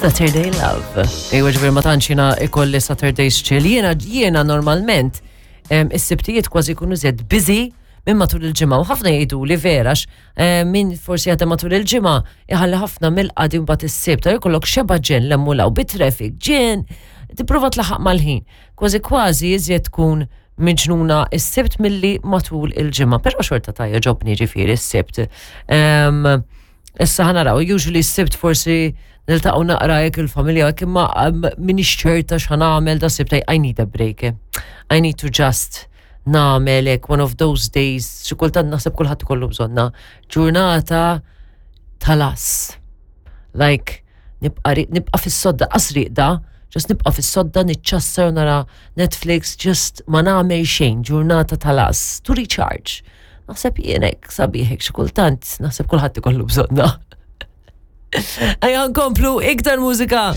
Saturday Love. Ejwa ġifieri ma tantx jiena ikolli Saturdays chill. Jiena jiena normalment is-sibtijiet kważi jkunu żed busy minn matul il-ġimgħa u ħafna jgħidu li verax min forsi jaħdem matul il-ġimgħa iħalli ħafna mill-qadi mbagħad is-sibt ta' jkollok xeba ġen l-emmulaw bit-traffic ġen tipprova tlaħaq mal-ħin. Kważi kważi iżjed tkun miġnuna is-sibt milli matul il-ġimgħa, però xorta ta' jogħġobni ġifieri s-sibt. Issa ħa naraw, usually s-sibt forsi niltaqgħu naqra jekk il-familja jekk imma minix ċerta x'ħa nagħmel da sibt I need a break. I need to just nagħmel hekk one of those days, xi kultant naħseb kulħadd ikollu bżonna, ġurnata talas. Like nibqa' nibqa' fis-sodda qas riqda, just nibqa' fis-sodda niċċassar nara Netflix, just ma nagħmel xejn, ġurnata talas, to recharge. Naħseb jien hekk sabiħ hekk xi kultant, naħseb kulħadd ikollu bżonna. Ejja nkomplu iktar mużika.